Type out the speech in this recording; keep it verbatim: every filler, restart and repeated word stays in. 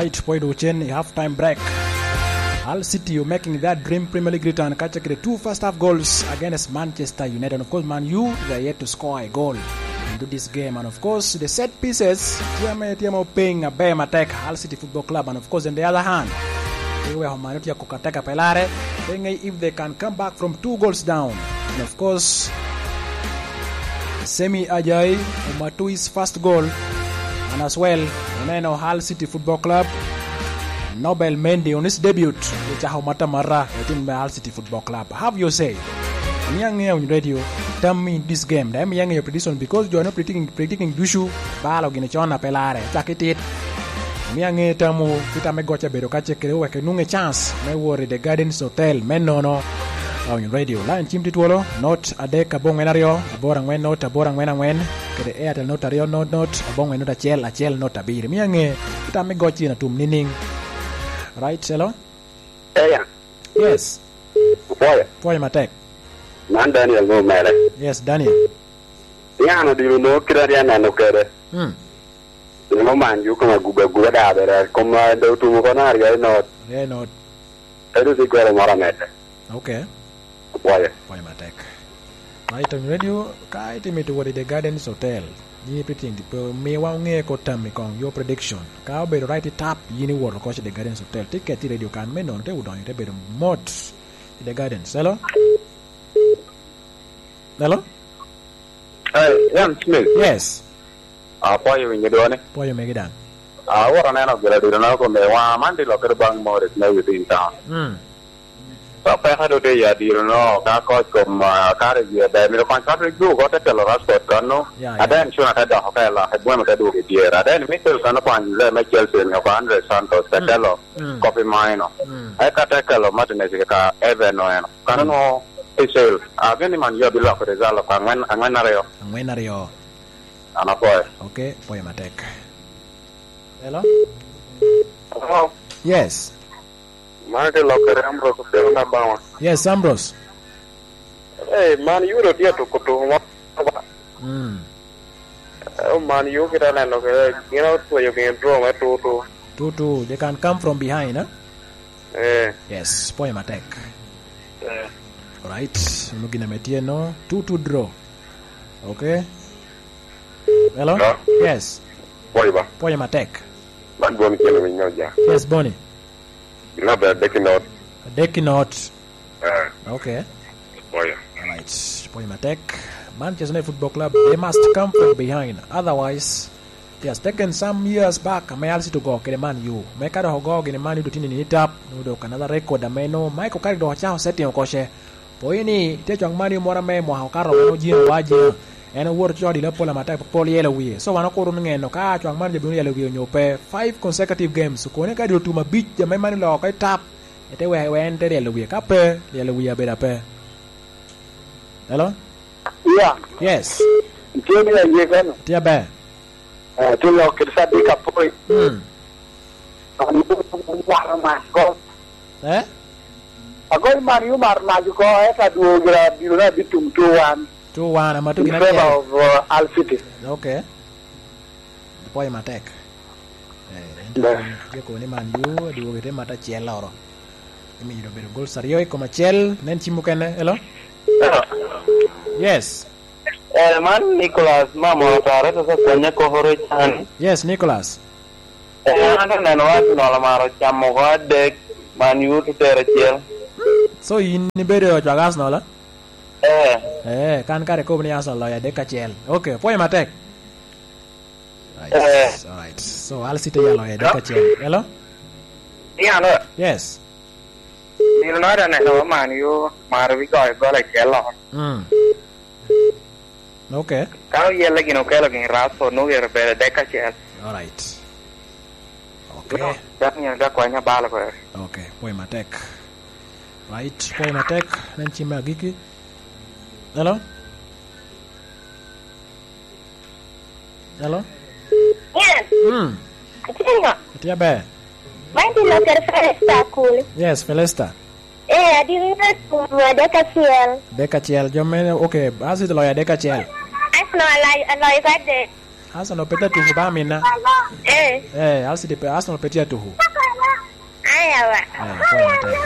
Right, pwod ocen i half time break. Hull City, you making that dream Premier League return, kaca kede two first half goals against Manchester United. And of course, Man U, they are yet to score a goal into this game. And of course, the set pieces, tye ame, tye ame oping aber matek, Hull City Football Club. And of course, in the other hand, they were Humano Tiakuka Teka Pelare. They may, if they can come back from two goals down. And of course, Semi Ajai, Omatui's first goal, and as well, oneno Hull City Football Club, Nobel Mendy on his debut, ocako matamata i tim me Hull City Football Club. Have your say. Miya ŋe on radio, tell me this game. Dai miya ŋe your prediction because jo no predicting, predicting ducu, balo gini con a pe lare, cak itit. Miya ŋe tamu, kita me goca bedo ka cekere wek inwonge chance me wor i The Gardens Hotel, me nono. On radio. Line cim tye twolo, not adek abongwen aryo, aboro angwen not aboro angwen angwen, kede Airtel not aryo not not, abongwen not acel, acel not abiro. Miya ŋe, tam me goc cen atum nining? Right, hello? Eya, Yes. Pwoyo. Pwoyo matek. Man Daniel mo mere. Yes, Daniel. Yan odiro no kira ya neno kede. Hmm. Nino man ju koma guba guba da bera, koma do tumo kono aryo not. Aryo not. Edo si goro moro amede. Okay. Pwoyo. Pwoyo matek. Ma i Tony Radio, ka itimo ito wot i The Gardens Hotel, yin ipitting, pe miwa oŋe ko tammi kong, your prediction. Ka obedo right i tap, yin iwoto oko i The Gardens Hotel. Tiket i radio kan me nono, te odonyo, te bedo mot i The Gardens. Hello? Hello? Hey, Ian Smith. Yes. Apwoyo winyo dwoni. Pwoyo megi daŋ. Awot aneno gire diro na kome wa man di lokere bang Morris me within town. Mm. So peka do te ya diro no ka koc kom, ah, kare ji ebe mito kony Patrick Duke ote kelo Rashford kano. Ya, ya. Aden cuna te doko ka ela, ebweme te duogo i dyere. Aden Mikel kano kony le me Chelsea ni oko Andre Santos te Mm. kelo Mm. Kobe Maino. Mm. Eka te kelo Martinez ka Even Oeno. Kano Mm. no Israel. Ageni man yo biloko result ko angwen, angwen aryo. Angwen aryo. An apwoyo. Okay, pwoyo matek. Hello? Hello? Yes. Man te lokere Ambrose Okello Nabama. Yes, Ambrose. Eh, man yudo tye tuko tuko mo. Mm. Eh, man yu kita neno ke, gin otweyo gin draw me two two. Two two, they can come from behind, eh? Eh. Yes, pwoyo matek. Eh. Alright, mano gin ame tye no, two two draw. Okay. Hello? Hello? Yes. Pwoyo ba? Pwoyo matek. Man Boni kene winyo ja. Yes, Boni. Gin aber adek i not. Adek i not. Eh. Okay. Pwoyo. Alright. Pwoyo matek. Manchester United Football Club, they must come from behind. Otherwise, it has taken some years back, ame Al City ogo kede Man U. Me ka dok ogo gini Man U, dok tye nini tap, nwoŋo dok another record ame nwoŋo Michael Carrick dok ocako setting oko ce. Pwoyo ni, tye cwak Man U moro ame i mwaka okato, en ojino wa ajina. En owoto coko dilo pol matek, pol yelo wie. So, wan okuro ni ŋeno ka cwak Man U bino yelo wie onyo pe. Five consecutive games, okone ka dilo tum abic, ame Man U loko oko i tap. Ete wek, wek en te ryelo wie. Ka pe, ryelo wie abedo ape. Hello? Yeah. Yes. Tye ni aye kano. Tye aber. Eh, tye lok kede Sadik Apoi. Hmm. An waro mac ko. Eh? Agol Man U mar mac ko, eka dwogo gira bino na bitum two one. Two one, ama to gin acel. In favor of, uh, Al City. Okay. Pwoyo matek. Eh, en tye kobo ni Man U, adwogo ite mata acel oro. Imiyo obedo goals aryo i kom acel, nen cim mukene, hello? Yes. Eh, man Nicholas, ma moro tare, to ka kwanya koko rocan. Yes, Nicholas. Eh, an aneno Arsenal amaro camo oko adek, Man U to tero acel. So, in ibedo i cwag Arsenal, eh? Eh. Eh, kan kare kobo ni Arsenal loyo adek acel. Okay, pwoyo matek. Right. Eh. All right. So, Al City ya loyo adek acel. Hello? Ian, eh? Yes. Nino na da neno Man U maro wi goyo gol acel oko. Mm. Okay. Ka oyelle gin okelo gin Rashford, nwoŋo gire bedo adek acel. All right. Okay. No, Daniel ga kwanya balo kweri. Okay, pwoyo matek. Right, pwoyo matek, nen cim me agikki. Hello? Hello? Yes. Mm. Atye ŋo? Atye aber. Man tye lokere Felista Akuli. Yes, Felista. Eh, adiri na tumo adek acel. Adek acel, jo mene, okay, Arsenal loyo adek acel. Arsenal aloyo, aloyo ka adek. Arsenal pe tye atuko ba, amina? Eh. Eh, Arsenal pe, Arsenal pe tye atuko. Aya wa. Eh, konya tek.